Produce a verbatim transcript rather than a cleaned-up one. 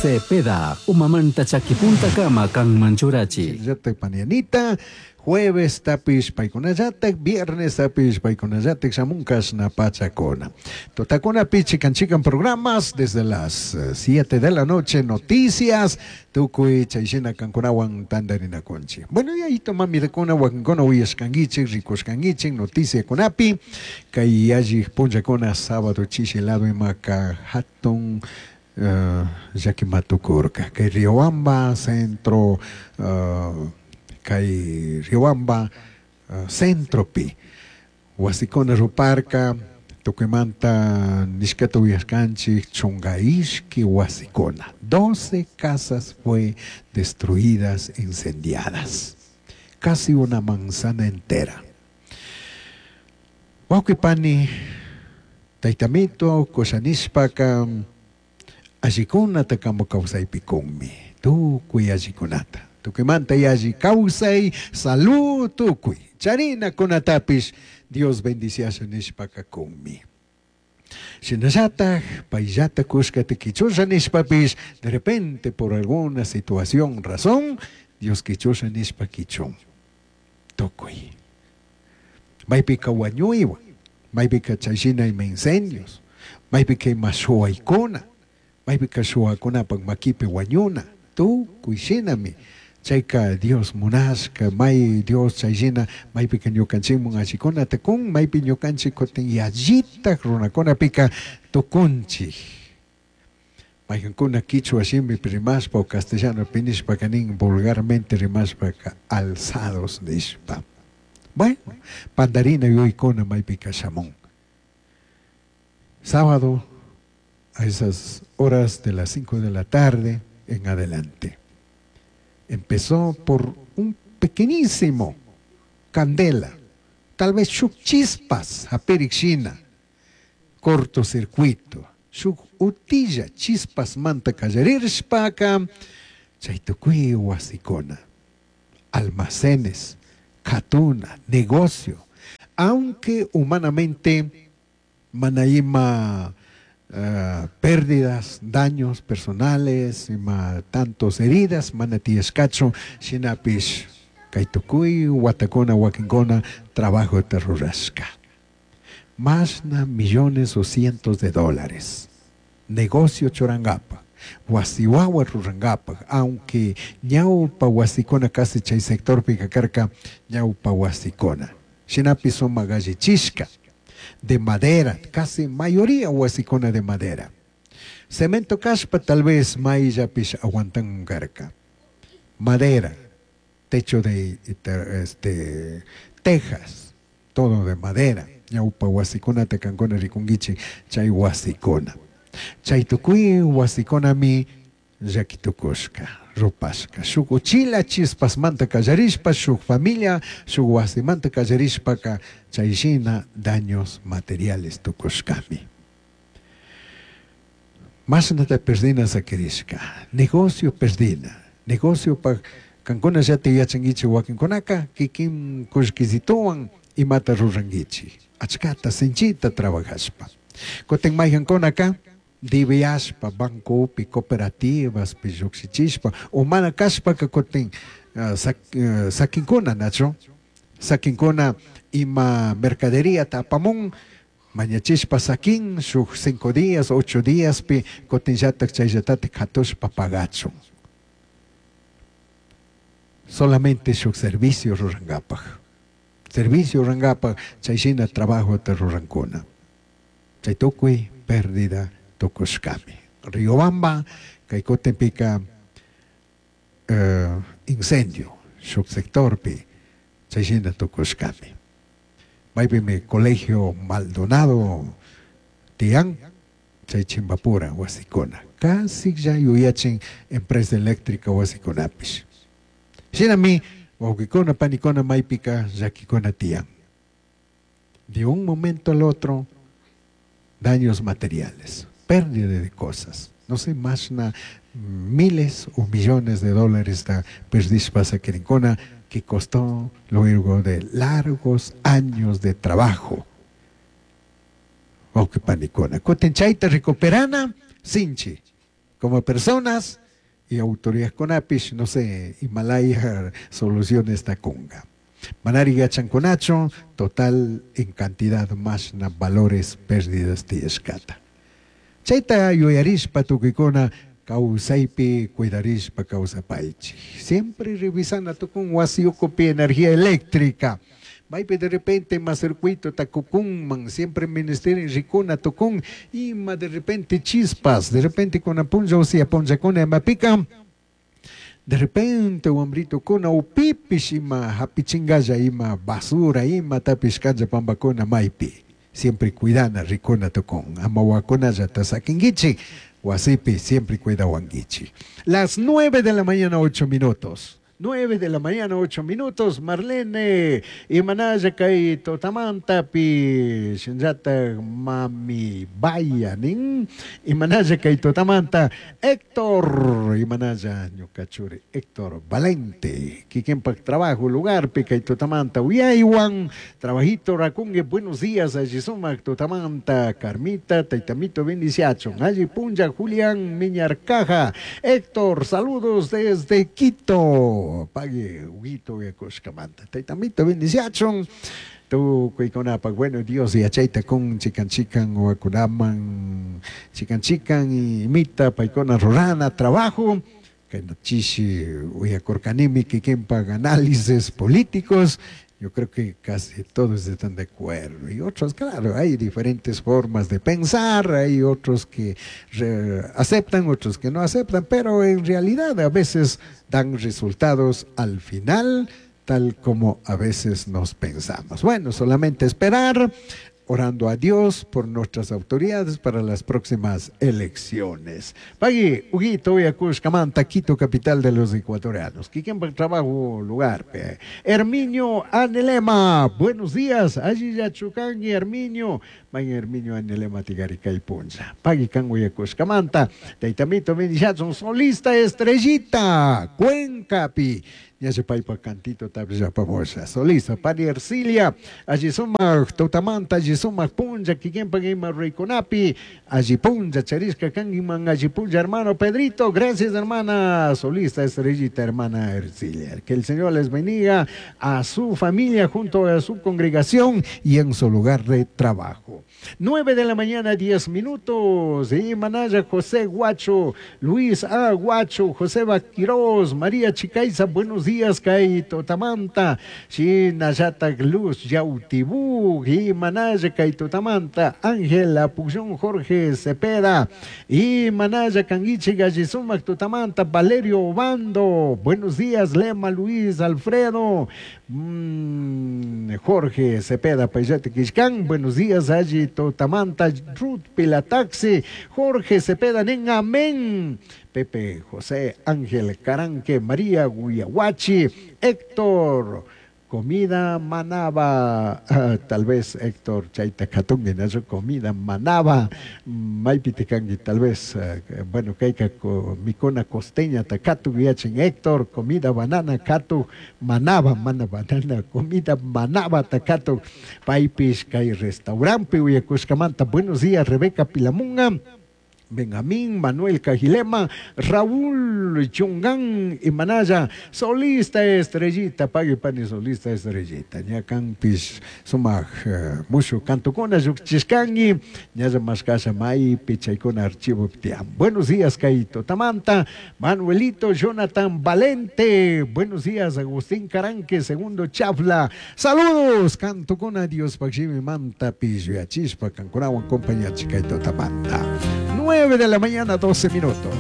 Cepeda, umamanta chakipuntakama kanman churachi. Llatak panianita, jueves tapish paykunallatak, viernes tapish paykunallatak shamunkashna pachakuna. Tutakunapi chikan chikan programas desde las siete de la noche, noticias, tukuy chayshina kankunawan tantarinakunchik. Bueno, y ahí tomamidakuna wakinkuna uyashkankichik, rikushkankichik, noticiakunapi, kay yallik punllakuna sábado chishi lado imaka hatun uh, llakimatukurka, kay Riobamba centro, uh, kay Riobamba uh, centropi wasikuna ruparka, tukuymanta nishkata uyashkanchik chunka ishki wasikuna, doce casas fue destruidas, incendiadas, casi una manzana entera. Wawqi pani, taytamito, kushanishpaka allikunata kamu kawsaypikunmi, tukuy allikunata, tukuymanta yalli kawsay, salud tukuy, charinakunatapish Dios bendiciasha nishpaka kunmi. Shinallatak payllata kushkata kichusha nishpapish, de repente por alguna situación, razón, Dios kichusha nishpa kichun, tukuy. Maypika wañuywan, maypika chayshina ima incendios, maypika ima shuwaykuna, maypika shuwakunapak makipi wañuna, tukuy shinami. Chayka Dios munashka, may Dios chayshina, maypika ñukanchikmun allikunata kun, maypi ñukanchik kutin yallitak runakunapika tukunchik. Maykankuna kichwa shimipi rimashpa o castellanopi nishpaka nin vulgarmente rimashpaka alzados nishpa. Bueno, pandarina yuyaykuna maypika shamun. Sábado a esas horas de las cinco de la tarde en adelante. Empezó por un pequeñísimo candela, tal vez shuk chispas haperikshina, cortocircuito, shuk utilla chispas manta kallarirshpaka, chay tukuy wasikuna, almacenes, katuna, negocio, aunque humanamente mana ima, uh, pérdidas, daños personales, ima tantos heridas, mana tiyashkachu, shinapish kay tukuy watakuna wakinkuna trabajo rurashka. Mashna millones o cientos de dólares. Negocio churangapa, wasiwawa rurangapa, aunque ñawpa wasikuna casi chay sectorpi kakarka ñawpa wasikuna. Shinapi sumak allichishka, de madera, casi mayoría wasikuna de madera. Cemento kashpa tal vez mayllapish aguantan karka. Madera, techo de este, tejas, todo de madera. Ñawpa wasikuna tekankuna rikunkichik chay wasikuna. Chay tukuy wasikunami llakitukushka, rupashka. Shuk uchila chispasmanta kallarishpa, shuk familia, shuk wasimanta kallarishpaka chay shina daños materiales tukushkami. Mashnata perdina sakirishka, negocio perdina, negocio pa kankuna llati yachankichik wakinkunaka kikin kullkisituwan imata rurankichik, achkata sinchita trabajashpa. Kutin maykankunaka diviashpa, bancopi, cooperativas, llukshichishpa, o mana kashpaka kutin uh, sak, uh, sakinkuna, nacho, sakinkuna ima mercadería tapamun, mañachishpa sakin, shuk cinco días, ocho días pi, kutin llatak chayllatatik katushpa pagachun. Solamente shuk servicio rurangapak. Servicio rurangapak, chayshina trabajo te rurankuna. Chay tukuy pérdida tukushkami. Riobamba, kay kutinpika uh, incendio, shuk sectorpi, chayshina tukushkami. Maypimi colegio Maldonado tiyan, chay Chimbapura wasikuna. Casi ya yuyachin empresa eléctrica wasikunapish. Shinami, wawqikuna, panikuna, maypika llakikuna tiyan. De un momento al otro, daños materiales, pérdida de cosas. No sé, más na miles o millones de dólares da perdishpa sakirinkuna que costó luego de largos años de trabajo. Wawqi panikuna. Kutin chayta recuperana, sinchi. Como personas y autoridades kunapish, no sé, Himalaya soluciones takunga. Manari yachankunachu, total en cantidad más na valores pérdidas tiyashkata. Chayta yuyarishpa tukuykuna kawsaypi cuidarishpa kawsapaychik. Siempre revisana tukun wasi ukupi energía eléctrica. Maypi de repente ima circuito takukunman, siempre ministerio rikuna tukun, ima de repente chispas, de repente kuna punlla usia punllakuna imapika, de repente wambritukuna upipish ima hapichingalla ima basura ima tapish kanja pampakuna maypi. Siempre cuidana rikuna tukun, ama wawakunallata sakinkichik, wasipi siempre cuidawankichik. Las nueve de la mañana, ocho minutos. Nueve de la mañana, ocho minutos, Marlene, imanalla kay tutamantapi, shinllata mami vaya nin, imanalla kay tutamanta, Héctor, imanalla ñuka churi, Héctor Valente, kikinpak trabajo lugarpi kay tutamanta, uyaywan, trabajito rakungue, buenos días, alli sumak tutamanta, Carmita, taitamito bendiciachon, alli punlla, Julián Miñarcaja, Héctor, saludos desde Quito. Pague Huguito Yakushkamanta. Taitamito bendiciachon. Tukuykunapak, bueno, Dios yachayta kun chikan chikan wawakunaman chikan chikan imita paykuna rurana trabajo. Chishi uyakurkanimi kikinpak análisis políticos. Yo creo que casi todos están de acuerdo. Y otros, claro, hay diferentes formas de pensar, hay otros que aceptan, otros que no aceptan, pero en realidad a veces dan resultados al final, tal como a veces nos pensamos. Bueno, solamente esperar, orando a Dios por nuestras autoridades para las próximas elecciones. Pagui, Huguito, Uyakushkamanta, Quito, capital de los ecuatorianos. Kikinpak trabajo lugar. Pe. Herminio Anelema, buenos días. Allí ya chukangi, Herminio. May Herminio Anelema tigarikay puncha. Pagui kan uyakushkamanta. Taitamito bendiciachon, solista estrellita, Cuencapi. Ya se paipa cantito tabla pamosa. Solista, Pani Ercilia, allí sumak tutamanta, allí sumak punja, kikinpak ima rikunapi, allí punja, charisca kangiman, allí punja, hermano Pedrito, gracias hermana, solista estrellita, hermana Ercilia. Que el Señor les bendiga a su familia junto a su congregación y en su lugar de trabajo. Nueve de la mañana, diez minutos. Y Manaya José Guacho, Luis A. Guacho, José Baquiroz, María Chicaiza, buenos días, kay tutamanta, Shinallata Luz Yautibú, y Manaya kay tutamanta, Ángela Puxón Jorge Cepeda, y Manaya Canguiche Gallizumac tutamanta, Valerio Obando, buenos días, Lema Luis Alfredo, mm, Jorge Cepeda Payate Quiscán, buenos días, allí tutamanta, Ruth Pilataxi, Jorge Cepeda, nen, amén. Pepe José Ángel Caranque, María Guyahuachi, Héctor, comida manaba, ah, tal vez Héctor chayta katungi, ¿no? Comida manaba, maypitikangi, tal vez, uh, bueno, kayka mikuna costeña takatu yachin Héctor, comida banana katu manaba, mana banana, comida manaba takatu, paypish kay restaurante uyakushkamanta. Buenos días, Rebeca Pilamunga, Benjamín, Manuel Cajilema, Raúl Chungán y Manaya, solista estrellita, pague pani solista estrellita, ñakanpish sumaj uh, mushu kantukuna llukchishkangi, ñalla mashkasha maypi chaykuna archivo tiyan. Buenos días, kay tutamanta, Manuelito Jonathan Valente, buenos días, Agustín Caranque, segundo chafla, saludos, kantukuna Dios pakshimi manta pishuyachishpa kankunawan compañía kay tutamanta. nueve de la mañana, doce minutos.